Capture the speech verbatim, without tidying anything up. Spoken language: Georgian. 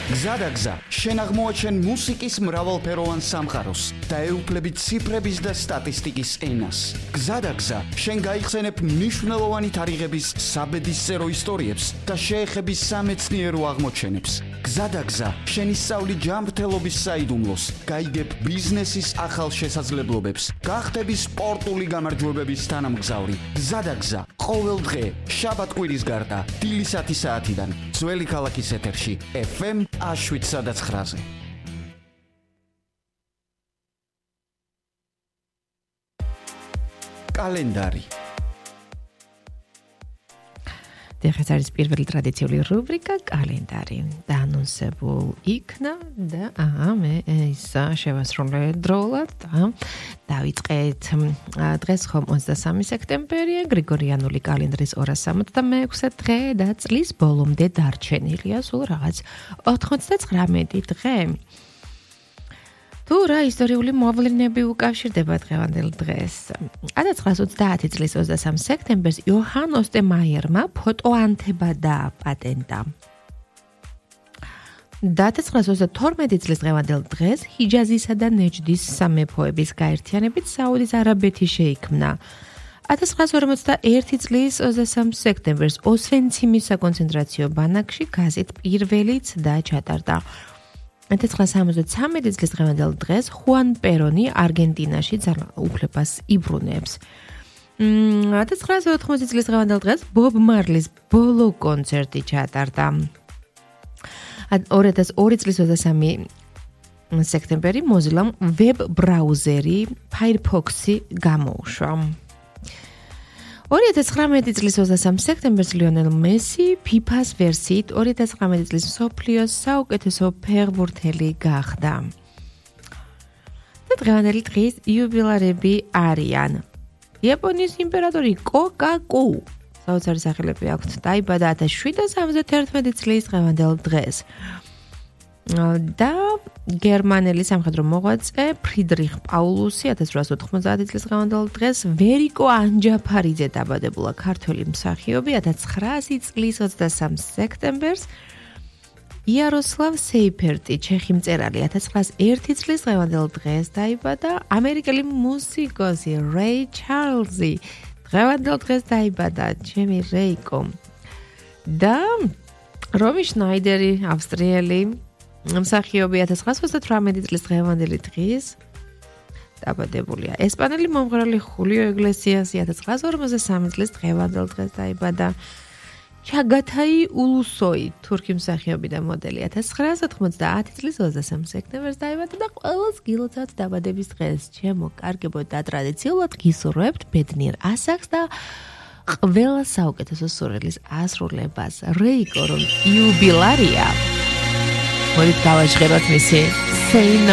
გზადაგზა, შენ აღმოაჩენ მუსიკის მრავალფეროვან სამყაროს და ეუფლები ციფრების და სტატისტიკის ენას. გზადაგზა, შენ გაიხსენებ მნიშვნელოვანი თარიღების საბედისწერო ისტორიებს და შეეხები სამეცნიერო აღმოჩენებს. გზადაგზა, შენ ისწავლი ჯანმრთელობის საიდუმლოს, გაიგებ ბიზნესის ახალ შესაძლებლობებს, გახდები სპორტული გამარჯვებების თანამგზავრი. გზადაგზა, ყოველ დღე, შაბათ-კვირის გარდა, დილისათი საათიდან, ძველი ქალაქის ეთერში, ეფ ემ შვიდ ცხრაზე. კალენდარი. დღეს არის პირველი ტრადიციული რუბრიკა კალენდარი. დაანონსებულ იქნა და აა მე ის შევასრულე დროულად და დავიწყეთ. დღეს ხომ ოცდასამი სექტემბერია, გრიგორიანული კალენდრის ორას სამოცდამეექვსე დღე და წლის ბოლომდე დარჩენილია სულ რაღაც ოთხმოცდაცხრამეტი დღე. თუ რა ისტორიული მოვლენები უკავშირდება დღევანდელ დღეს. ათას ცხრაას ოცდაათი წლის ოცდასამი სექტემბერს იოჰან ოსტემაიერმა ფოტოანთება დააპატენტა. და ათას ცხრაას ოცდათორმეტი წლის დღევანდელ დღეს ჰიჯაზისა და ნეჯდის სამეფოების გაერთიანებით საუდის არაბეთი შეიქმნა. ათას ცხრაას ორმოცდაერთი წლის ოცდასამი სექტემბერს ოსვენციმის საკონცენტრაციო ბანაკში გაზეთ პირველი ცდა ჩატარდა. ათას ცხრაას სამოცდათვრამეტი წლის დღევანდელ დღეს ხუან პერონი არგენტინაში ძალაუფლებას იბრუნებს. ათას ცხრაას ოთხმოცი წლის დღევანდელ დღეს ბობ მარლის ბოლო კონცერტი ჩატარდა. ორი ათას ორი წლის ოცდასამი სექტემბერი მოზილამ ვებ ბრაუზერი Firefox-ი გამოუშვა. ორი ათას ცხრამეტი წლის ოცდასამი სექტემბერს ლიონელ მესი ფიფას ვერსიით ორი ათას ცხრამეტი წლის მსოფლიოს საუკეთესო ფეხბურთელი გახდა. და დღევანდელი დღის იუბილარები არიან. იაპონიის იმპერატორი კოკაკუ, საოცარი სახელები აქვთ, დაიბადა ათას შვიდსათ სამოცდათერთმეტი წლის დღევანდელ დღეს. და გერმანელი სამხედრო მოღვაწე ფრიდრიხ პაულუსი ათას რვაას ოთხმოცდაათი წლის დღევანდელ დღეს, ვერიკო ანჯაფარიძე დაბადებულა ქართველი მსახიობი ათას ცხრაასი წლის ოცდასამი სექტემბერს, იაროსლავ სეიფერტი ჩეხი მწერალი ათას ცხრაას ერთი წლის დღევანდელ დღეს დაიბადა, ამერიკელი მუსიკოსი რეი ჩარლზი დღევანდელ დღეს დაიბადა, ჩემი რეიკო. და რომი შნაიდერი ავსტრიელი მსახიობი ათას ცხრაას ოცდათვრამეტი წლის დღევანდელი დღის დაბადებულია. ესპანელი მომღერალი ხულიო იგლესიასი ათას ცხრაას ორმოცდასამი წლის დღევანდელ დღეს დაიბადა. ჩაგათაი ულუსოი თურქი მსახიობი და მოდელი ათას ცხრაას ოთხმოცდაათი წლის ოცდასამი სექტემბერს დაიბადა და ყველას გილოცავთ დაბადების დღეს. ჩემო კარგებო და ტრადიციულად გისურვებთ ბედნიერ ასაკს და ყველა საუკეთესო სურვილის ასრულებას. რეიკო რომ იუბილარია მოდით გავაჟღეროთ მისი Say No